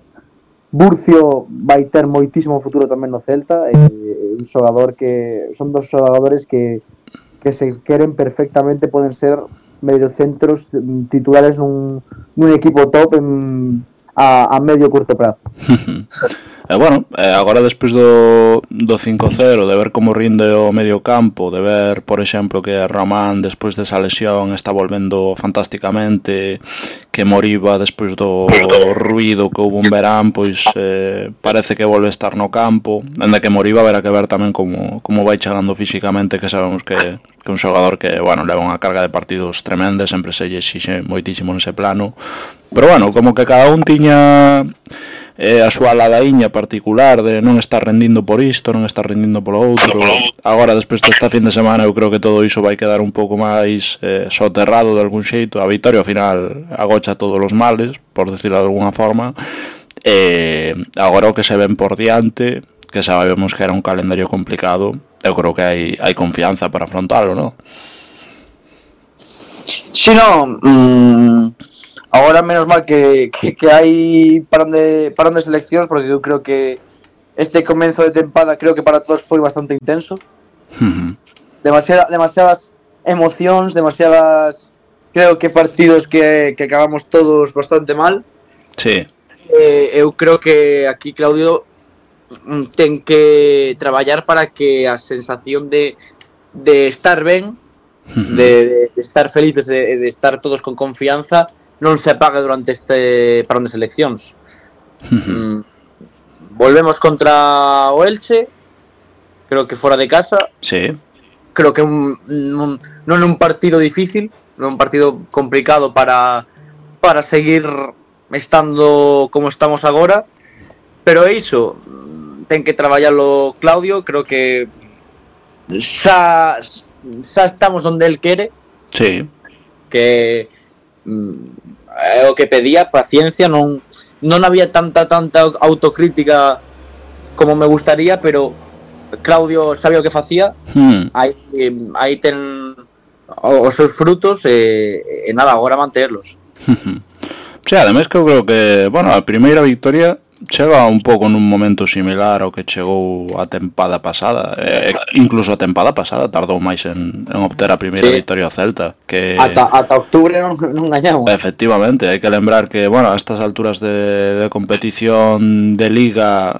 Burcio vai ter moitísimo futuro tamén no Celta, eh, un xogador que son dos xogadores que, que se queren perfectamente, poden ser mediocentros titulares nun, nun equipo top en, a, a medio curto prazo. E bueno, eh, agora despois do, do cinco cero, de ver como rinde o medio campo, de ver, por exemplo, que Román despois desa lesión está volvendo fantásticamente, que Moriba despois do ruido que houve un verán, pois eh, parece que volve a estar no campo, ainda que Moriba verá que ver tamén como, como vai chegando físicamente, que sabemos que, que un xogador que, bueno, leva unha carga de partidos tremenda, sempre se lle exixe moitísimo nese plano, pero bueno, como que cada un tiña eh, a súa ladaíña particular de non estar rendindo por isto, non estar rendindo polo outro. Agora, despois desta fin de semana, eu creo que todo iso vai quedar un pouco máis eh, soterrado de algún xeito. A vitoria, ao final, agocha todos os males, por decirlo de alguna forma. E agora o que se ven por diante, que sabemos que era un calendario complicado, eu creo que hai, hai confianza para afrontalo, non? Si, no, mmm, agora menos mal que, que, que hai parón de, parón de seleccións, porque eu creo que este comenzo de tempada creo que para todos foi bastante intenso. Uh-huh. Demasiada, demasiadas emocións, demasiadas, creo que partidos que, que acabamos todos bastante mal. Sí. Eh, eu creo que aquí Claudio ten que traballar para que a sensación de, de estar ben, uh-huh, de, de estar felices, de, de estar todos con confianza, non se apague durante este parón de seleccións. Uh-huh. Mm, volvemos contra o Elche, creo que fora de casa. Sí. Creo que un, un, non é un partido difícil, non é un partido complicado para, para seguir estando como estamos agora, pero é iso, ten que traballarlo Claudio. Creo que xa, xa estamos onde el quere. Sí. Que é o que pedía, paciencia, non non había tanta tanta autocrítica como me gustaría, pero Claudio sabía o que facía. Hmm. Aí aí ten os seus frutos e, e nada, agora manterlos. Sí, ademais que eu creo que, bueno, a primeira victoria chega un pouco nun momento similar ao que chegou a tempada pasada. Eh, incluso a tempada pasada tardou máis en, en obter a primeira, sí, victoria ao Celta, que ata, ata octubre non, non gañamos. Efectivamente, hai que lembrar que, bueno, a estas alturas de, de competición de liga,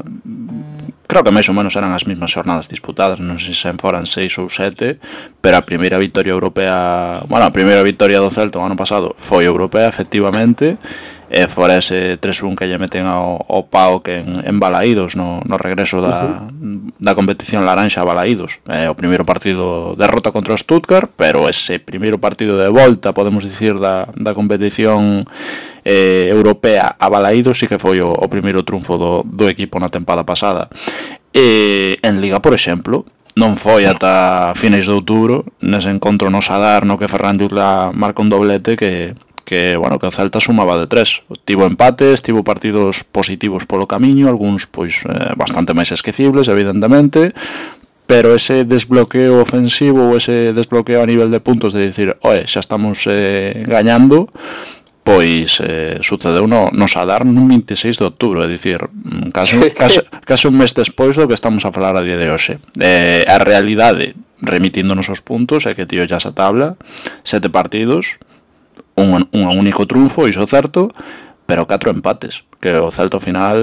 creo que máis ou menos eran as mesmas xornadas disputadas, non sei se foran seis ou sete, pero a primeira victoria europea, bueno, a primeira victoria do Celta o ano pasado foi europea, efectivamente. E fora ese tres un que lle meten ao, ao Paok en, en Balaídos no, no regreso da, uh-huh, da competición laranxa a Balaídos. É o primeiro partido derrota contra o Stuttgart, pero ese primeiro partido de volta, podemos dicir, da, da competición eh, europea a Balaídos sí que foi o, o primeiro triunfo do, do equipo na tempada pasada. E en Liga, por exemplo, non foi ata finais de outubro, nese encontro no Sadar, no que Ferran Jutla marca un doblete que que, bueno, que o Celta sumaba de tres. Tivo empates, tivo partidos positivos polo camiño, algúns pois eh, bastante máis esquecibles, evidentemente, pero ese desbloqueo ofensivo ou ese desbloqueo a nivel de puntos de dicir, oe, xa estamos eh, gañando, pois eh, sucedeu no, no Sadar nun veintiséis de outubro, é dicir, case, case, case un mes despois do que estamos a falar a día de hoxe. Eh, a realidade, remitíndonos os puntos, é que tío xa esa tabla, sete partidos, un, un único triunfo, iso certo, pero catro empates, que o Celta ao final,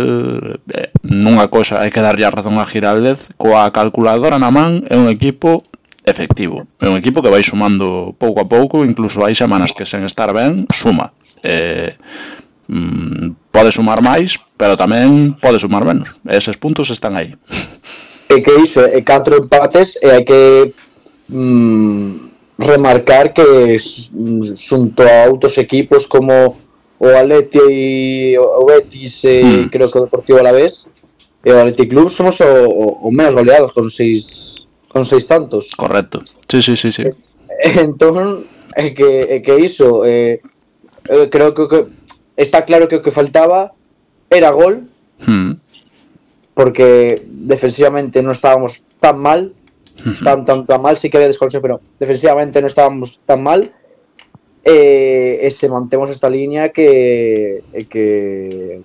eh, nunha cosa hai que darlle a razón a Giraldez, coa calculadora na man, é un equipo efectivo, é un equipo que vai sumando pouco a pouco, incluso hai semanas que sen estar ben, suma. Eh, mm, pode sumar máis, pero tamén pode sumar menos, eses puntos están aí. É que iso, é catro empates e hai que mm, remarcar que xunto a outros equipos como o Atleti e o Betis e mm. creo que o Deportivo Alavés e o Athletic Club somos o, o, o menos goleados con seis con seis tantos. Correcto. Sí, sí, sí, sí. Entón, é que é que iso, eh, eh, creo que, que está claro que o que faltaba era gol. Mm. Porque defensivamente non estábamos tan mal. Tan, tan, tan mal, sí que había desconexión, pero defensivamente no estábamos tan mal. Eh, e se mantemos esta línea que, que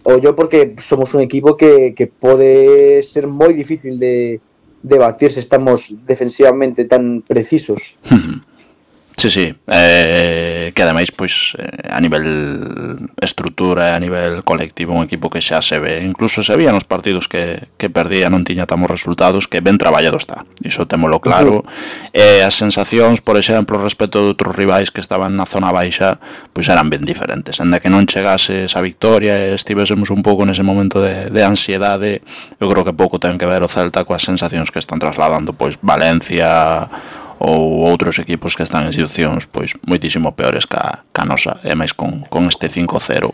o yo porque somos un equipo que, que pode ser moi difícil de, de batir se estamos defensivamente tan precisos. Sí, sí, eh, que ademais pois eh, a nivel estrutura, a nivel colectivo, un equipo que xa se ve, incluso se veía nos partidos que, que perdía, non tiña tamos resultados, que ben traballado está, iso témolo claro. Uh-huh. Eh, as sensacións, por exemplo, respecto de outros rivais que estaban na zona baixa, pois eran ben diferentes, enda que non chegase esa victoria e estivésemos un pouco nese momento de, de ansiedade, eu creo que pouco ten que ver o Celta coas sensacións que están trasladando pois Valencia ou outros equipos que están en situacións pois moitísimo peores ca, ca nosa, e máis con, con este cinco cero.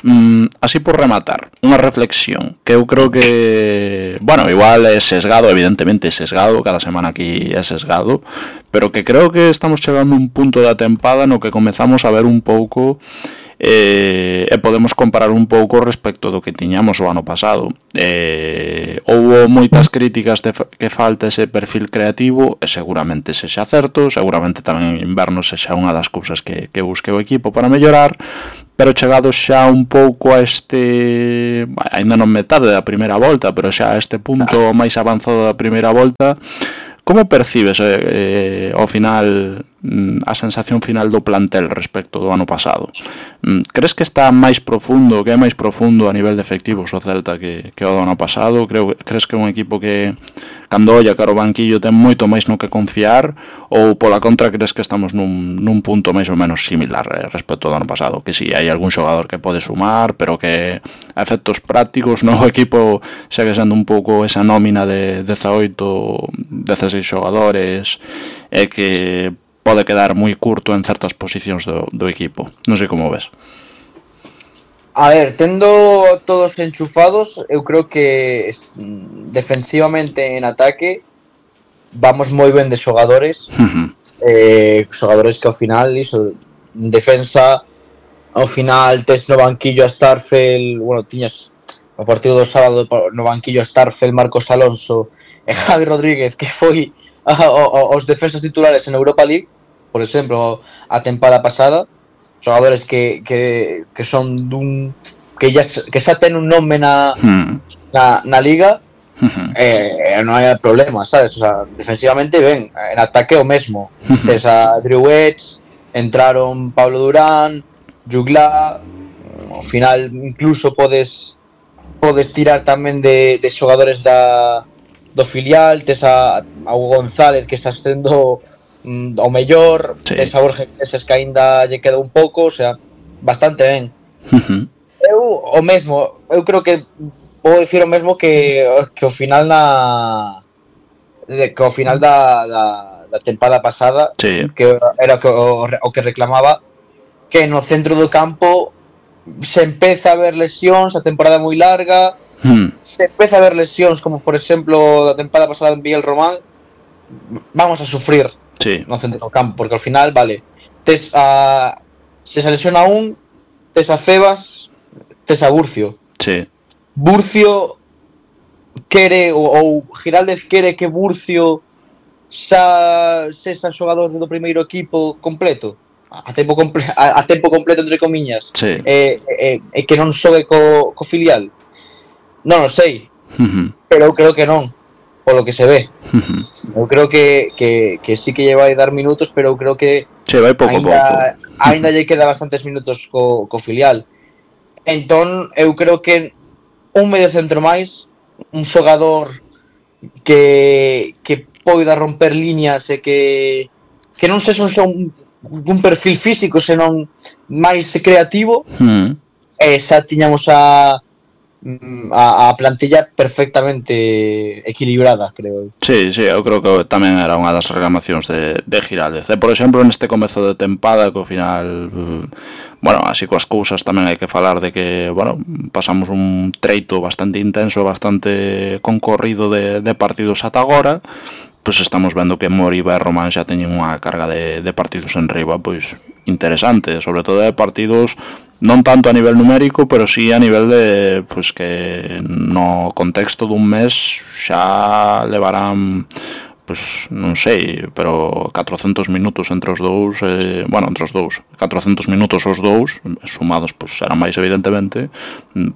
Mm, así por rematar, unha reflexión que eu creo que, bueno, igual é sesgado, evidentemente é sesgado, cada semana aquí é sesgado, pero que creo que estamos chegando a un punto da tempada no que comezamos a ver un pouco eh, e podemos comparar un pouco respecto do que tiñamos o ano pasado. Eh, houbo moitas críticas de que falta ese perfil creativo, e seguramente sexa certo, seguramente tamén en inverno sexa unha das cousas que, que busque o equipo para mellorar, pero chegados xa un pouco a este, ainda non metade da primeira volta, pero xa a este punto máis avanzado da primeira volta, como percibes eh, ao final a sensación final do plantel respecto do ano pasado? Crees que está máis profundo, que é máis profundo a nivel de efectivos o Celta que, que o do ano pasado? Creo, crees que é un equipo que cando olla cara ao banquillo ten moito máis no que confiar, ou pola contra crees que estamos nun, nun punto máis ou menos similar eh, respecto do ano pasado? Que si, hai algún xogador que pode sumar, pero que a efectos prácticos no, o equipo segue sendo un pouco esa nómina de dezaoito, dezaseis xogadores e que pode quedar moi curto en certas posicións do, do equipo. Non sei como ves. A ver, tendo todos enchufados, eu creo que defensivamente en ataque vamos moi ben de xogadores. Uh-huh. eh, xogadores que ao final iso, en defensa ao final tes no banquillo a Starfel, bueno, tiñas o partido do sábado no banquillo a Starfel, Marcos Alonso e Javi Rodríguez, que foi a, a, os defensas titulares en Europa League, por exemplo, a tempada pasada, xogadores que, que, que son dun que, ya, que xa ten un nome na, na, na liga, uh-huh. eh, non hai problema, sabes? O sea, defensivamente ben, en ataque o mesmo. Uh-huh. Tes a Drew Edge, entraron Pablo Durán, Jugla, ao final incluso podes podes tirar tamén de, de xogadores da, do filial, tes a, a Hugo González que está sendo o mellor, sí. Tes a Borja Iglesias que aínda lle queda un pouco, o sea, bastante ben. Uh-huh. Eu o mesmo, eu creo que vou dicir o mesmo que que ao final na que ao final da, da, da tempada pasada, sí. Que era o, o que reclamaba, que no centro do campo se empeza a ver lesións, a temporada moi larga, hmm. se empeza a ver lesións como por exemplo da tempada pasada en Miguel Román, vamos a sufrir, sí. No centro do campo, porque ao final, vale, tes a se se lesiona un, tes a Febas, tes a Burcio. Sí. Burcio quere ou, ou Giraldez quere que Burcio xa sexa xogador do primeiro equipo completo. A tempo, comple- a, a tempo completo entre comiñas, sí. e, e, e que non xogue co, co filial, non o sei, uh-huh. Pero eu creo que non, polo que se ve. Uh-huh. Eu creo que, que, que sí que lle vai dar minutos, pero eu creo que sí, vai pouco ainda, pouco. Ainda lle queda bastantes minutos co, co filial. Entón, eu creo que un medio centro máis, un xogador que, que poida romper líneas e que, que non sexa un xo un perfil físico, senón máis creativo, mm. e xa tiñamos a, a, a plantilla perfectamente equilibrada, creo. Sí, sí, eu creo que tamén era unha das reclamacións de, de Giraldez. E, por exemplo, neste comezo de tempada, que ao final, bueno, así coas cousas tamén hai que falar de que, bueno, pasamos un treito bastante intenso, bastante concorrido de, de partidos ata agora, pois estamos vendo que Moriba e Román xa teñen unha carga de, de partidos en riba pois interesante, sobre todo de partidos non tanto a nivel numérico, pero sí a nivel de pois que no contexto dun mes xa levarán pois non sei, pero catrocentos minutos entre os dous, eh, bueno, entre os dous, catrocentos minutos os dous, sumados pois será máis evidentemente,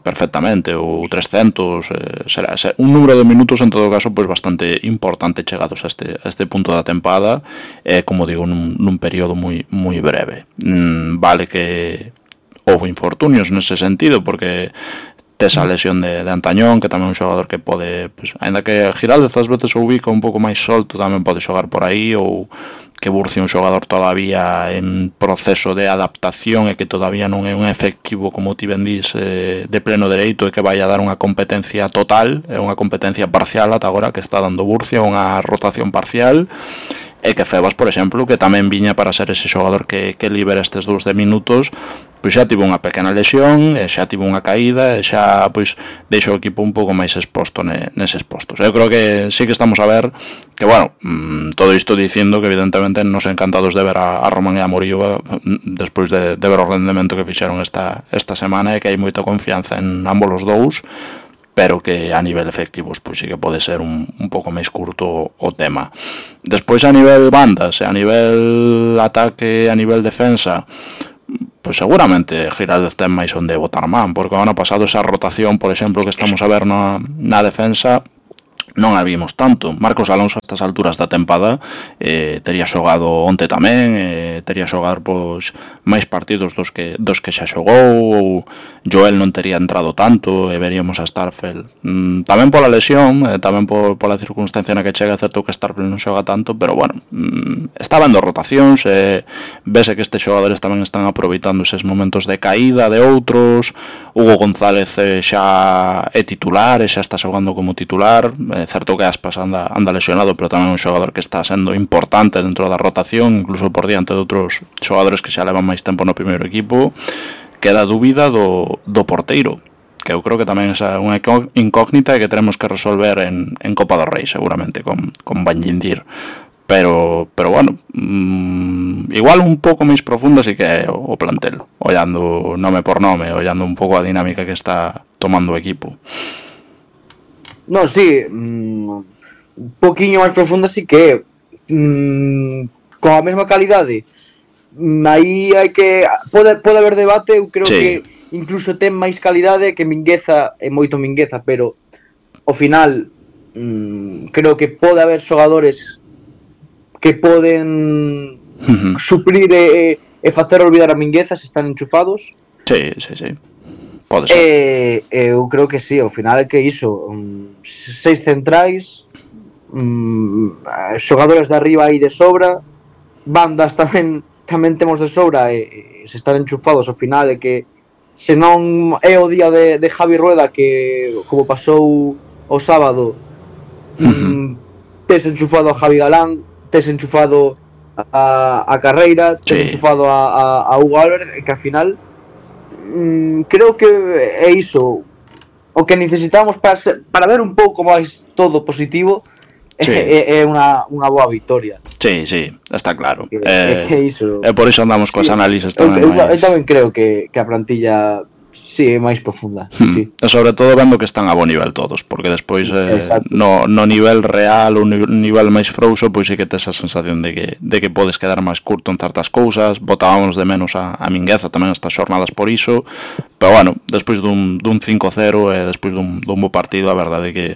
perfectamente, ou trescentos, eh, será, será un número de minutos en todo caso pois bastante importante chegados a este a este punto da tempada, eh, como digo, nun, nun período moi moi breve. Mm, vale que houve infortunios nese sentido, porque tes a lesión de, de Antañón, que tamén é un xogador que pode, pues, ainda que Giraldez ás veces o ubica un pouco máis solto, tamén pode xogar por aí, ou que Burcio é un xogador todavía en proceso de adaptación e que todavía non é un efectivo, como ti ben dís, eh, de pleno dereito, e que vai a dar unha competencia total, é unha competencia parcial ata agora que está dando Burcio, unha rotación parcial. e que Febas, por exemplo, que tamén viña para ser ese xogador que, que libera estes dous de minutos, pois xa tivo unha pequena lesión, e xa tivo unha caída, e xa pois deixa o equipo un pouco máis exposto ne, neses postos. Eu creo que sí que estamos a ver que, bueno, mmm, todo isto dicindo que evidentemente nos encantados de ver a, a Román e a Morillo despois de, de ver o rendemento que fixeron esta, esta semana, e que hai moita confianza en ambos os dous, pero que a nivel efectivos pois sí que pode ser un, un pouco máis curto o tema. Despois a nivel bandas, e a nivel ataque, a nivel defensa, pois seguramente Giraldez ten máis onde botar man, porque o ano pasado esa rotación, por exemplo, que estamos a ver na, na defensa, non a vimos tanto. Marcos Alonso a estas alturas da tempada eh, tería xogado onte tamén, eh, tería xogado pois máis partidos dos que dos que xa xogou, ou Joel non tería entrado tanto, e veríamos a Starfelt mm, tamén pola lesión, eh, tamén por, pola circunstancia na que chega, certo que Starfelt non xoga tanto, pero bueno, mm, está vendo rotacións, e eh, vese que estes xogadores tamén están aproveitando eses momentos de caída de outros. Hugo González eh, xa é titular, e xa está xogando como titular. É certo que Aspas anda, anda lesionado, pero tamén é un xogador que está sendo importante dentro da rotación, incluso por diante de outros xogadores que xa levan máis tempo no primeiro equipo. Queda a dúbida do, do porteiro, que eu creo que tamén é unha incógnita e que tenemos que resolver en, en Copa do Rei, seguramente, con, con Banjindir. Pero, pero bueno, mmm, igual un pouco máis profunda sí que é o, o plantel, ollando nome por nome, ollando un pouco a dinámica que está tomando o equipo. No, sí, mmm, un poquinho máis profunda sí que mmm, con a mesma calidade. Mmm, aí hai que pode pode haber debate, eu creo sí. que incluso ten máis calidade que Mingueza, e moito Mingueza, pero ao final mmm, creo que pode haber xogadores que poden uh-huh. suplir e, e facer olvidar a Mingueza se están enchufados. Sí, sí, sí. Pode ser. E, eu creo que sí, ao final é que iso, um, seis centrais, um, xogadores de arriba aí de sobra, bandas tamén tamén temos de sobra, e, e se están enchufados ao final é que se non é o día de, de Javi Rueda, que como pasou o sábado, uh-huh. um, tes enchufado a Javi Galán, tes enchufado a, a Carreira, tes sí. enchufado a, a, a Hugo Álvarez, que ao final Mm, creo que é iso o que necesitamos para, ser, para ver un pouco máis todo positivo. Sí. É, é unha, unha boa victoria. Sí, sí, está claro. Que, eh, é, iso. E por iso andamos coas análises tamén. Eu, eu, eu tamén creo que, que a plantilla sí, é máis profunda. Hmm. Sí. E sobre todo vendo que están a bo nivel todos, porque despois eh, no, no nivel real, o nivel máis frouxo, pois sí que tes a sensación de que, de que podes quedar máis curto en certas cousas. Botábamos de menos a, a Mingueza tamén estas xornadas por iso, pero bueno, despois dun, dun cinco cero e despois dun, dun bo partido, a verdade é que